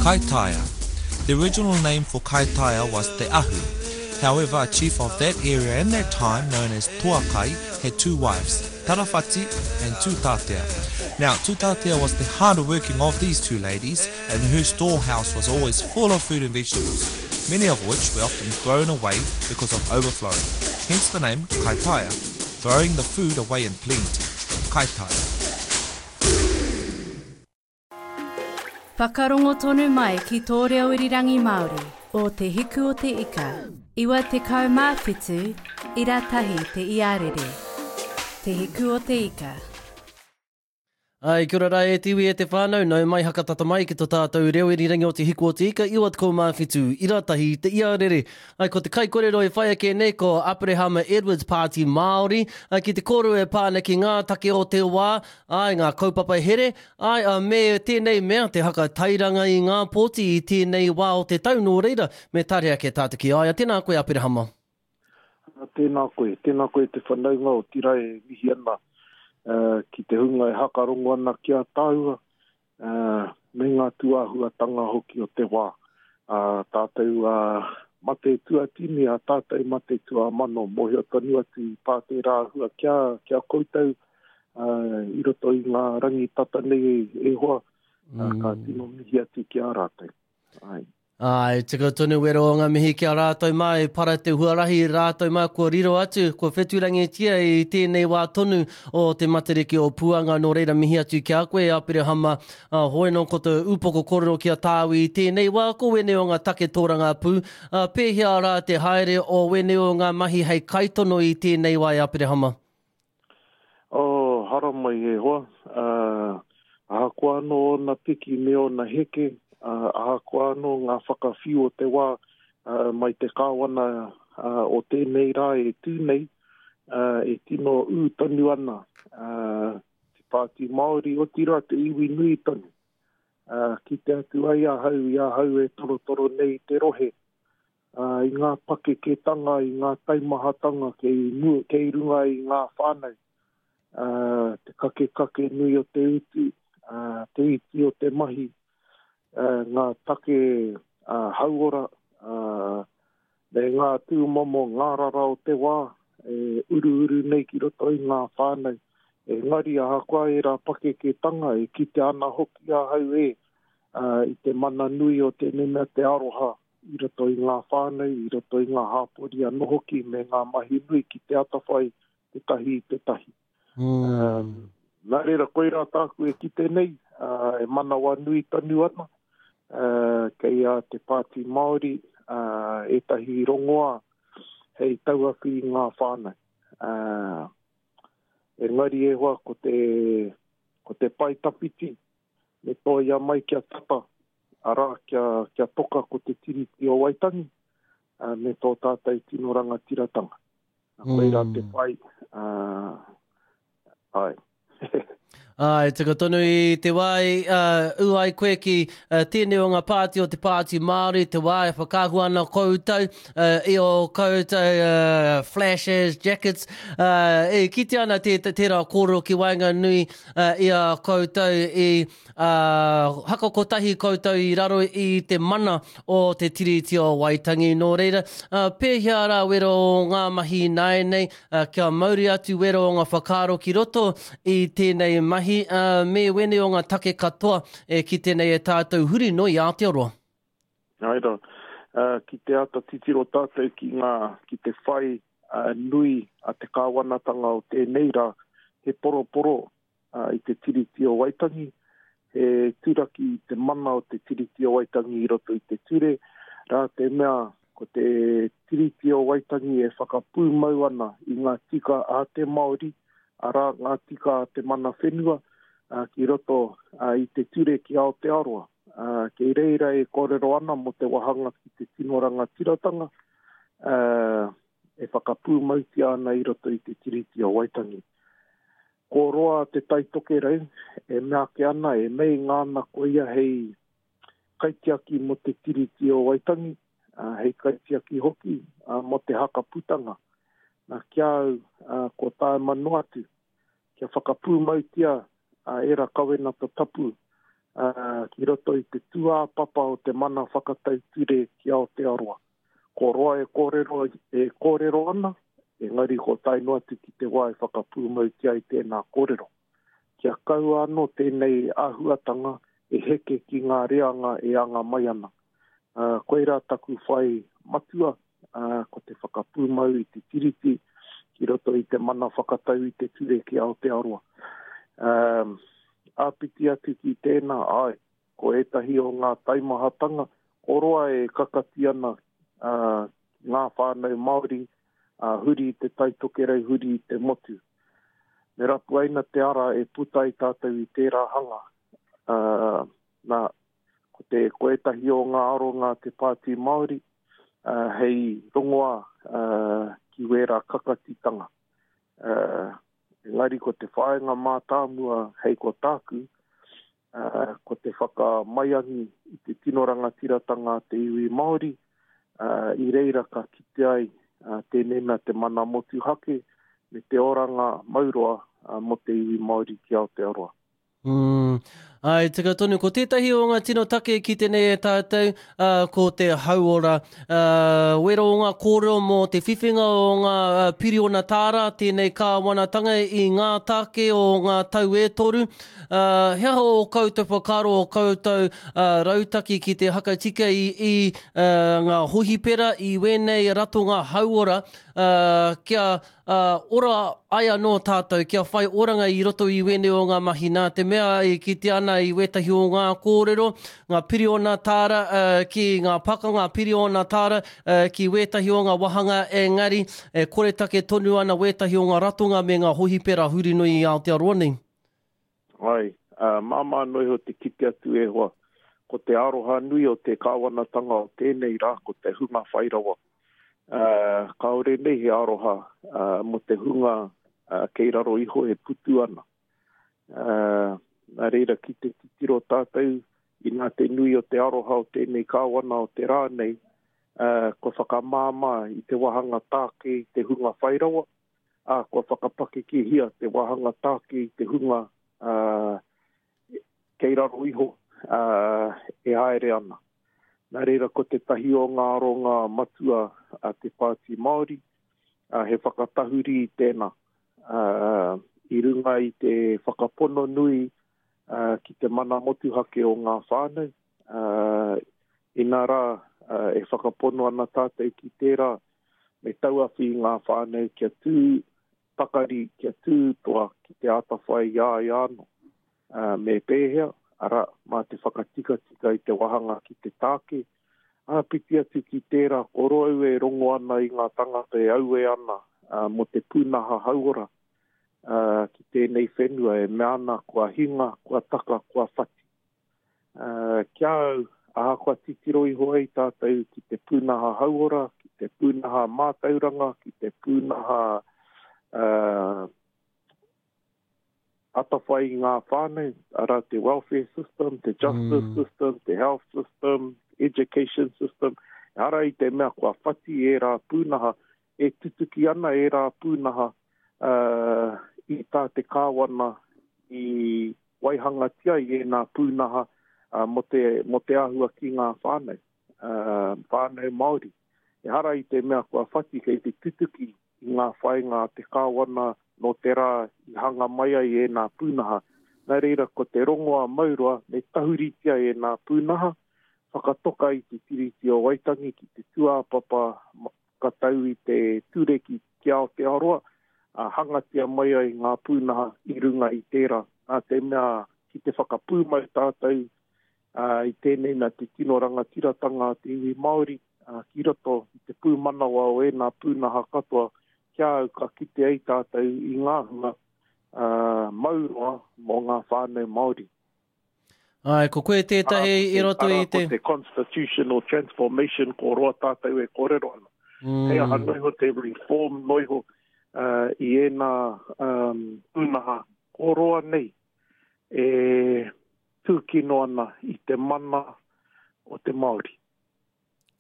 Kaitaia. The original name for Kaitaia was Te Ahu. However, a chief of that area in that time, known as Toakai, had two wives, Tarawhati and Tutatea. Now, Tutatea was the harder working of these two ladies, and her storehouse was always full of food and vegetables, many of which were often thrown away because of overflowing. Hence the name Kaitaia, throwing the food away in plenty. Kaitaia. Whakarongo tonu mai ki tō reo irirangi Māori o Te Hiku o Te Ika, 97 ira tahi te iarere. Te Hiku o Te Ika. Ai, kia ora rā e te iwi e te whānau, nau mai hakatata mai ki to tātou reo irirangi o Te Hiku o Te Ika, 97 ira tahi te iarere. Ai, ko te kaikorero e whai ake nei ko Aperehama Edwards Pāti Māori, ai, ki te kōrero e pā ana ki ngā take o te wā, ai, ngā kaupapa here, ai, a, me tēnei mea te haka tairanga i ngā pōti i tēnei wā o te tau, nō reira, me tare ake tātou ki a ia. Tēnā koe Aperehama. Tēnā koe, tēnā koe te whanaunga o Tira e mihi ana ki te hunga e hakarongo ana ki a tāua me ngā tūāhuatanga hoki o te wā. Ā tātou mate tuatini, ā tātou mate tuamano, mōhio tonu atu i pā tērā āhua kia, kia koutou i roto i ngā rangi tata nei e hoa, ka tino mihi atu ki a rātou. Āe. Āe, tika tonu wero o ngā mihi ki a rātou mā i para te huarahi, rātou mā kua riro atu, kua wheturangitia i tēnei wā tonu o te Matariki o Puanga, nō reira mihi atu ki a koe Aperehama, ā, hoi nō ko te upoko kōrero ki a tāu i tēnei wā, ko wēnei o ngā take tōrangapū, ā, pēhea rā te haere o wēnei o ngā mahi hei kaitono i tēnei wā e Aperehama? Oh, haramai e hoa. Uh, ahakoa anō ōna piki me ōna heke, uh, ahakoa anō ngā whakawhiu o te wā uh, mai te kāwana uh, o tēnei rā e tū nei, uh, e tino ū tonu ana uh, te Pāti Māori, otirā te iwi nui tonu. Uh, kite atu ai ahau i ahau e torotoro nei i te rohe, i ngā pakeketanga, i ngā taimahatanga kei mua, kei runga i ngā whānau, te kakekake nui o te utu, te iti o te mahi, ngā take hauora, me ngā tūmomo ngārara o te wā e uruuru nei ki roto i ngā whānau. Engari ahakoa ērā pakeketanga e kitea ana hoki ahau e i te mana nui o tēnei mea te aroha i roto i ngā whānau, i roto i ngā hāpori anō hoki me ngā mahi nui ki te atawhai tētahi i tētahi. Mm. Nā reira, koirā tāku e kite nei, uh, e manawanui tonu ana, uh, kei a te Pāti Māori uh, ētahi rongoā hei tauawhi i ngā whānau. Uh, engari e hoa ko te, ko te pae tawhiti, me tōia mai kia tata, arā, kia, kia toka ko te Tiriti o Waitangi, uh, me tō tātou tino rangatiratanga. Mm. Koirā te whai, uh, ai. Ai, tika tonu i te wā i uh, ū ai koe ki uh, tēnei o ngā pāti o te Pāti Māori, te wā e whakaahua ana koutou uh, i o koutou uh, flashes, jackets, uh, e kite ana tē, tērā kōrero ki waenganui uh, i a koutou i Ā, haka kotahi koutou i raro i te mana o te Tiriti o Waitangi. Nō reira, ā, pēhea rā wero o ngā mahi ināianei, ā, kia mauri atu wero o ngā whakaaro ki roto i tēnei mahi, ā, me wēnei o ngā take katoa e kite nei e tātou huri noa i Aotearoa? Āe rā, ā, ki te āta titiro tātou ki ngā, ki te whai nui a te kāwanatanga o tēnei rā, he poroporo i te Tiriti o Waitangi, he turaki i te mana o te Tiriti o Waitangi i roto i te ture, rā te mea ko te Tiriti o Waitangi e whakapūmau ana i ngā tika a te Māori, arā, ngā tika a te mana whenua ki roto i te ture ki Aotearoa. Kei reira e kōrero ana mō te wāhanga ki te tino rangatiratanga e whakapūmautia ana i roto i te Tiriti o Waitangi. Ko roa Te Tai Tokerau e mea ake ana, e meinga ana ko ia hei kaitiaki mō te Tiriti o Waitangi, hei kaitiaki hoki mō te haka putanga. Nā, ki a au, kua taema noa atu kia whakapūmautia ērā kawenata tapu. Ki roto i te tūāpapa o te mana whakatau ture ki Aotearoa. Ko roa e kōrero, e kōrero ana, engari ko tae noa atu ki te wā e whakapūmautia ai tēnā kōrero. Kia kaua anō tēnei āhuatanga e heke ki ngā reanga e anga mai ana. Koirā taku whai matua, ko te whakapūmau i te Tiriti ki roto i te mana whakatau i te ture ki Aotearoa. Āpiti atu ki tēnā, āe, ko ētahi o ngā taimahatanga, ko roa e kakati ana ngā whānau Māori huri i te Tai Tokerau, huri i te motu. Me rapuaina te ara e puta ai tātou i tērā hanga. Nā, Ko te, ko ētahi o ngā aronga a te Pāti Māori hei rongoā ki wērā kakatitanga. Engari ko te whāinga mātāmua hei ko tāku, ko te whakamaiangi i te tino rangatiratanga a te iwi Māori, i reira ka kite ai tēnei mea te mana motuhake me te oranga mauroa mō te iwi Māori ki Aotearoa. Mm. Ai, tika tonu, ko tētahi o ngā tino take ki tēnei e tātou, uh, ko te hauora. Uh, wero o ngā kōrero mō te whiwhinga o ngā piriona tāra, tēnei kāwanatanga i ngā take o ngā tau e toru. Uh, he aha o koutou whakaaro, o koutou uh, rautaki ki te hakatika i, i uh, ngā hohipera, i wēnei ratonga hauora, uh, kia Ā, ora ai anō tātou kia whai oranga i roto i wēnei o ngā mahi, nā te mea e kitea ana i wētahi o ngā kōrero, ngā piriona tāra ki ngā pakanga, piriona tāra ki wētahi o ngā wāhanga, engari e koretake tonu ana wētahi o ngā ratonga me ngā hohipera huri nui i Aotearoa nei. Āe, māmā noa iho te kite atu e hoa, ko te aroha nui o te kāwanatanga o tēnei rā ko te hunga whai rawa. Kāore nei he aroha mō te hunga kei raro iho e putu ana. Nā reira ki te titiro tātou inā te nui o te aroha o tēnei kāwana o te rā nei, kua whakamāmā i te wāhanga tāke i te hunga whai rawa, ā, kua whakapakekehia te wāhanga tāke i te hunga kei raro iho e haere ana. Nā reira ko tētahi o ngā aronga matua a te Pāti Māori, he whakatahuri i tēnā, i runga i te whakapono nui ki te mana motuhake o ngā whānau, inā rā e whakapono ana tātou ki tērā me tauawhi i ngā whānau kia tū pakari, kia tū toa ki te atawhai i a ia anō. Me pēhea? Arā, mā te whakatikatika i te wāhanga ki te tāke. Āpiti atu ki tērā, ko roa au e rongo ana i ngā tangata e auē ana mō te pūnaha hauora ki tēnei whenua e mea ana kua hinga, kua taka, kua whati. Ki a au, ahakoa titiro iho ai tātou ki te pūnaha hauora, ki te pūnaha mātauranga, ki te pūnaha atawhai i ngā whānau, arā te welfare system, te justice mm. system, te health system, education system, ehara i te mea kua whati ērā pūnaha, e tutuki ana ērā pūnaha uh, i tā te kāwana i waihangatia i ēnā pūnaha mō te, mō te āhua ki ngā whānau, whānau Māori. Ehara i te mea kua whati kei te tutuki i ngā whāinga a te kāwana nō te rā i hanga mai ai ēnā pūnaha. Nā reira, ko te rongoā mauroa me tahuritia ēnā pūnaha, whakatoka i te Tiriti o Waitangi ki te tūāpapa whakatau i te ture ki ki Aotearoa, ā, hangatia mai ai ngā pūnaha i runga i tērā. Nā te mea, ki te whakapūmau tātou i tēnei mea te tino rangatiratanga a te iwi Māori ki roto i te pūmanawa o ēnā pūnaha katoa, ki a au ka kite ai tātou i ngā hua mauroa mō ngā whānau Māori. Āe, ko koe tētahi i roto i te... Arā, ko te constitutional transformation ko roa tātou e kōrero ana. Mm. Hei aha noa iho te reform noa iho uh, i ēnā um, pūnaha ko roa nei e tūkino ana i te mana o te Māori.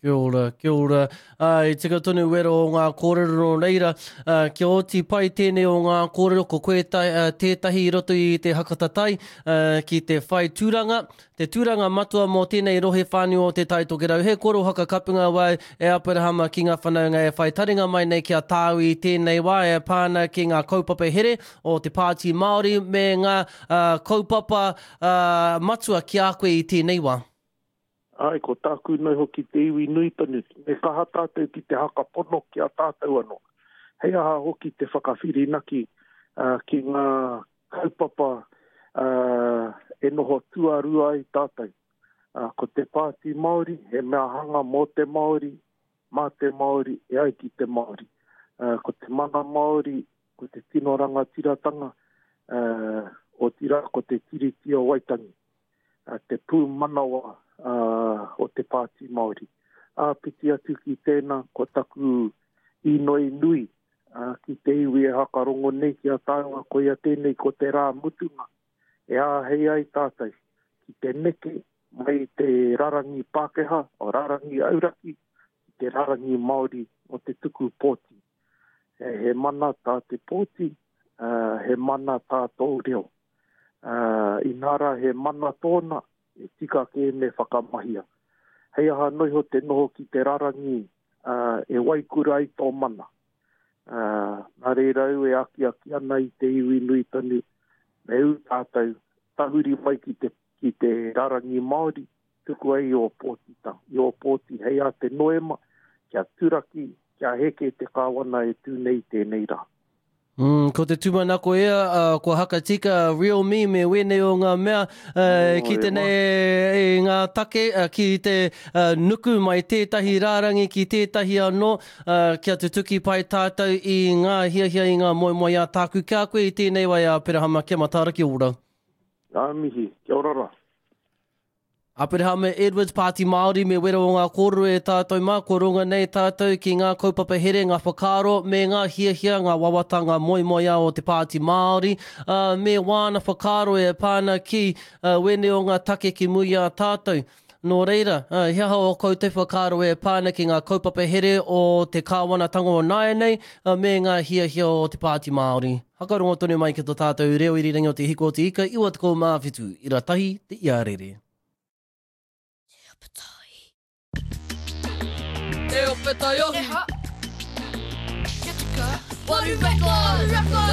Kia ora, kia ora. Ā, i tika tonu wero o ngā kōrero nō reira, ā, kia oti pai tēnei o ngā kōrero ko koe ta, ā, tētahi i roto i te hakatatai, ā, ki te whai tūranga, te tūranga matua mō tēnei rohe whānui o Te Tai Tokerau. He koro hakakapunga wau e Aperahama ki ngā whanaunga e whai taringa mai nei ki a tāu i tēnei wā e pā ana ki ngā kaupapa here o te Pāti Māori me ngā, ā, kaupapa, ā, matua ki a koe i tēnei wā. Āe, ko tāku noi hoki te iwi nui tonu, me kaha tātou ki te haka pono ki a tātou anō. Hei aha hoki te whakawhirinaki ki ngā kaupapa e noho tuarua ai tātou. Ko te Pāti Māori, he mea hanga mō te Māori, mā te Māori, e ai ki te Māori. Ko te mana Māori, ko te tino rangatiratanga, otirā ko te Tiriti o Waitangi. te pūmanawa o te Pāti Māori. Āpiti atu ki tēnā, ko taku inoi nui ki te iwi e hakarongo nei ki a tāua, koia tēnei ko te rā mutunga e āhei ai tātou ki te neke mai i te rarangi Pākehā, o rarangi auraki, ki te rarangi Māori o te tuku pōti. He mana tā te pōti, he mana tā tōu reo. Ā, inā rā he mana tōna, e tika kē me whakamahia. Hei aha noa iho te noho ki te rarangi, ā, e waikura ai tō mana. Ā, nā reira au e akiaki ana i te iwi nui tonu, me ū tātou, tahuri mai ki te, ki te rarangi Māori, tuku ai i ō pōtitanga, i ō pōti hei ā te Noema, kia turaki, kia heke te kāwana e tū nei i tēnei rā. Mm, ko te tūmanako ia, uh, kua hakatika real me me wēnei o ngā mea uh, ki te nei e ngā take, uh, ki te uh, nuku mai tētahi rārangi ki tētahi anō, uh, kia tutuki pai tātou i ngā hiahia i ngā moemoeā tāku ki a koe i tēnei wai a Aperahama, kia mataara, kia ora. Ngā mihi, kia ora rā. Aperahama Edwards, Pāti Māori, me wera o ngā kōrero e tātou mā, kua ronga nei tātou ki ngā kaupapa here, ngā whakaaro, me ngā hiahia, ngā wawata, ngā moemoeā o te Pāti Māori, ā, me wāna whakaaro e pā ana ki wēnei o ngā take ki muri i a tātou. Nō reira, he aha ō koutou whakaaro e pā ana ki ngā kaupapa here o te kāwanatanga o nāianei, me ngā hiahia o te Pāti Māori? Whakarongo tonu mai ki to tātou reo irirangi o Te Hiko o Te Ika 97 ira tahi te iarere. Te ope tahi. Te ope taiohi. Kia tika. Waru records.